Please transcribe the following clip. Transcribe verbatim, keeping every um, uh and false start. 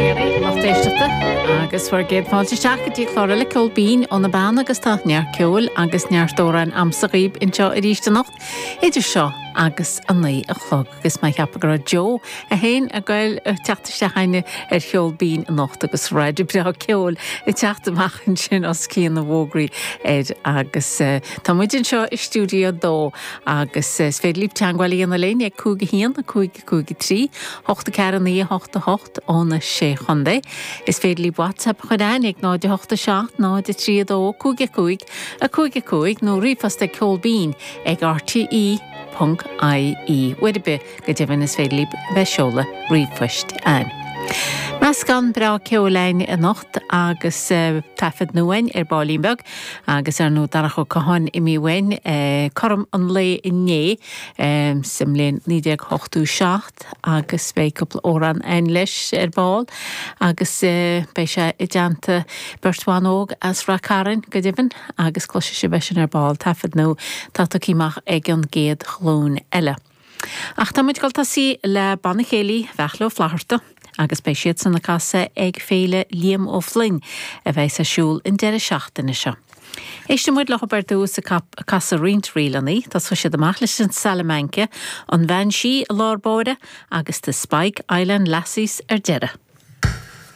Lucht éisteachta agus bhur gcéad fáilte isteach go dtí clár eile Ceol Binn ó na Beanna agus tá neart ceoil agus neart amhrán a'msa dhaoibh anseo arís anocht idir seo agus a naoi a chlog agus mé ag ceapadh go raibh Joe a haon ag goil teacht isteach againne ar Cheol Binn anocht agus raidió breá ceoil ag teacht amach ansin os cionn na bhfógraí air agus uh, tá muid anseo i stiúideo dó agus uh, is féidir libh teagmháil a dhéanamh linn ag cúig a haon a cúig cúig trí hocht a ceathair naoi hocht a hocht ó na sé chontae. Is féidir libh WhatsApp chur chugainn ag náid a hocht a seacht náid a trí dó cúig a cúig a cúig a cúig nó ríomhphost ag ceolbinn ag RTE. .ie Uair ar bith go deimhin is féidir libh bheith ag seoladh ríomhphoist chugainn. Meascán breá ceoil againn anocht agus uh, taifead nua againn ar baillín beag agus ar ndóigh Darach Ó Catháin imithe uainn uh, cothrom an lae inné um, sa mbliain naoi déag ochtó seacht agus beidh cúpla amhrán againn leis ar ball agus uh, beidh sé i dteannta beirt bhan óg as Ráth Cairn go deimhin agus cloisfidh sibh sin ar ball taifead nua atá tugtha amach ag an gcéad ghlúin eile. Ach tá muid ag tosú le Banna Céilí Bheachla Ó Flatharta agus beidh siad san ag casadh ag Féile Liam Ó Floinn a bheidh ar siúl an deireadh seachtaine seo. Éistfidh muid leo ar dtús ag casadh roinnt ríleanna, tá siad amach leis an Salamanca, an Bhean Sí i lár báire agus The Spike Island Lassies ar deireadh.